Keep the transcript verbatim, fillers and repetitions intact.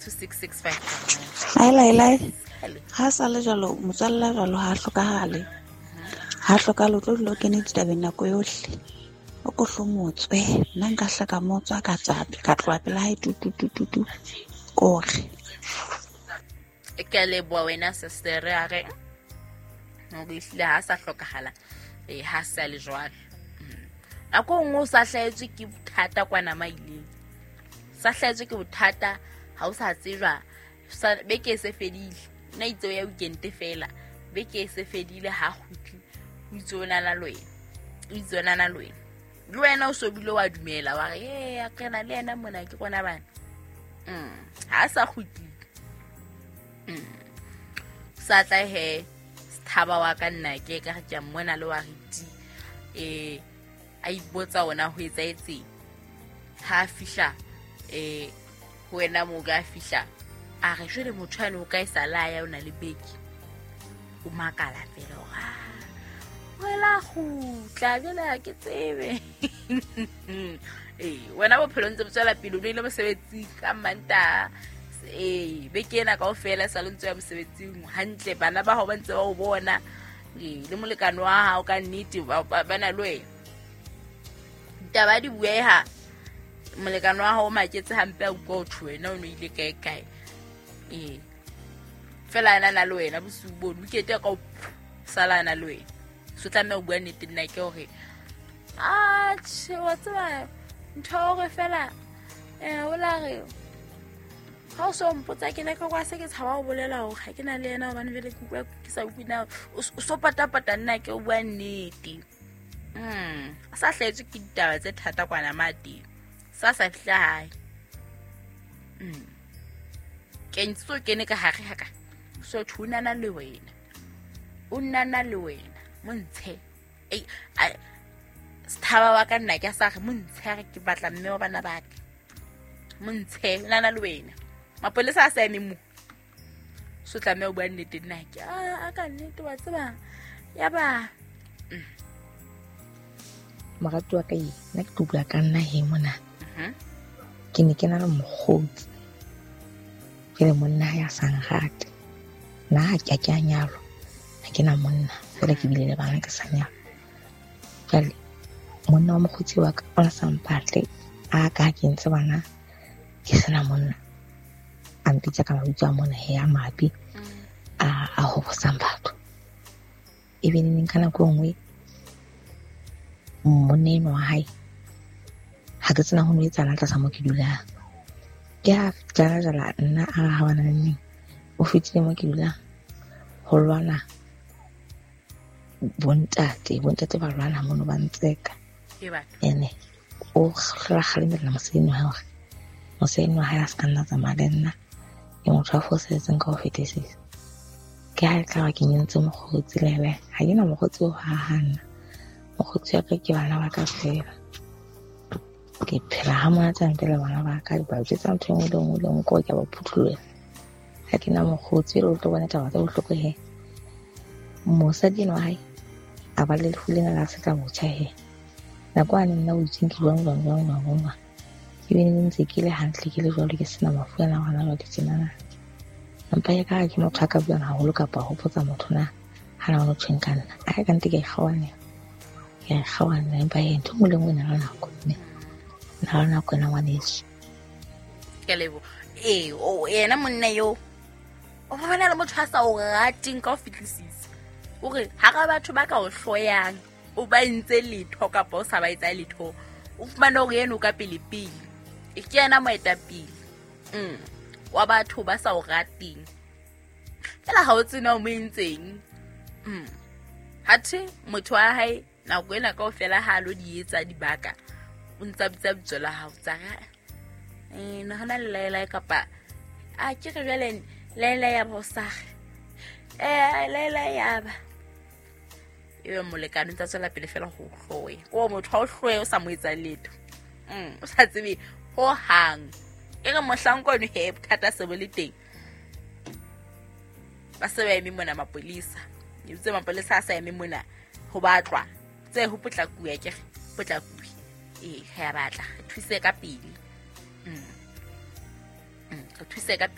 two six six five. Lai lai. Ha sa le jwalo motswalla jwalo ha hlokahale. Ha hlokahale o tlo dula o kene ditabeng nako yohle. O ko hlomotswe nna nka hlaka motswa ka tswa ka tloha pela hae tu tu tu tu tu. Kore. Ke leboha wena sister a re hore ehlile ha sa hlokahala eh ha sa le jwalo. Nako nngwe o sa hlahetswe ke bothata kwana maileng. Sa hlahetswe ke bothata ha o sa tsejwa beke e se fedile. Nna itse o ya weekend fela beke e se fedile ha kgutli o itse o nana le wena. O itse o nana le wena. Le wena o so bile wa dumela wa re eh a kena le yena mona ke rona bana. Mm ha sa kgutli. Mm sa tla he sthaba wa ka nna ke ka re ke mmona le wa riti eh a ipotsa ona ho etsaetseng ha fihla eh ho wena mo ka fihla a re jwale motho ane o ka e sa la ya ona le beke o makala fela hore wela kgutla jwale ha ke tsebe eh wena bophelo ntse bo tswela pele o ile mosebetsing ka Mantaha eh beke ena kaofela sa le ntse ya mosebetsing hantle bana ba hao ba ntse ba o bona eh le molekane wa hao ka nnete ba na le wena ditaba di bueha molekane wa hao o maketse hampe a utlwa ho thwe wena o no ile kae kae eh fela ana na le wena bosiu bono weekend ka o sala na le wena so tlameha ho bua nnete nna ke hore atjhe wa tseba ntho hore fela eh o la re ha o so mpotsa ke ne ka kwa se ke tshaba ho bolela hore ha ke na le yena hobane jwale ke utlwa ke sa utlwe na o so patapata nna ke o bua nnete. Mm a sa hlahetswe ke ditaba tse thata kwana mate sa sa fihla hae. Mm ke ntse o kene ka hare ha ka so thunana le wena o nnana le wena montshe ei sthaba wa ka nna ke sa re montshe re ke batla mme wa bana ba ka montshe nana le wena mapolesa a sa eme mo so tlameha o bua nnete nna ke a ka nnete wa tseba ya ba morati wa ka e nna ke tlo bua ka nna he mona. Ke ne ke na le mokgotsi ke le monna ya sa nrate nna ha ke a ke a nyalwa ha ke na monna fela ke bile le bana ke sa nyalwa. Jwale monna wa mokgotsi wa ka o na sa mpatle a ka ke ntse bana ke sena monna a mpitsa ka mabitso a mona he a mabe a a hobosang batho. Ebe neng ka nako e nngwe monna enwa wa hae ha ke tsena ho no etsahalang tlasa mo ke dulang. Ke ha jala jala nna a ha bana le neng o fetile mo ke dulang ho lwana bontate bontate ba lwana mono ba ntseka ene o hlola kgalemela mosadi wa hae hore mosadi wa hae a se ka nna tsamaya le nna ke motho a fosahetseng ka ho fetisisa. Ke ha e tla ba ke nyentse mokgotsi lele ha ke na mokgotsi o haha nna mokgotsi wa ka ke bana ba ka fela. Ke phela ha monate hampe le bana ba ka ba jwetsa ntho e nngwe le nngwe le nngwe ko ke a ba phuthulohela. Ha ke na mokgotsi le o tlo bona taba tse bohloko he mosadi enwa wa hae a ba le lefu lena la setla botjha he nako ane nna o itseng ke jwang jwang jwang jwang jwang ke bene ntse ke le hantle ke le jwalo ke sena mafu ana hona jwale tjenana. Empa ya ka ke motho a ka buang haholo kapa ho hopotsa motho na ha na ho tjheng ka nna a ka nte ke kgaohane ke kgaohane empa e ntho nngwe le nngwe e na le nako mme na le nako ena ngwaneso. Ke lebo eh o yena monna yo o bona le motho a sa o rateng ka ho fetlisisa o re hara batho ba ka o hloyang o ba entse letho kapa o sa ba etsa letho o fumane hore yena o ka pele pele e ke yena moetapele mm wa batho ba sa o rateng fela ha o tsena o mo entseng mm hathe motho wa hae nako ena kaofela ha lo di etsa dibaka o ntsa bitsa bitso la hao tsa eh nahana le laela kapa a ke re jwale laela ya bosa eh laela ya ba ebe molekane ntsa tswela pele fela ho hloe o motho ha o hloe o sa mo etsa letho mm o sa tsebe ho hang e re mohlankwane he bothata se bo le teng ba se ba eme mona mapolesa itse mapolesa a sa eme mona ho batlwa tse ho potlakuwe ke re potlakuwe eh ha ya batla thuse ka pele mm Re thuse ka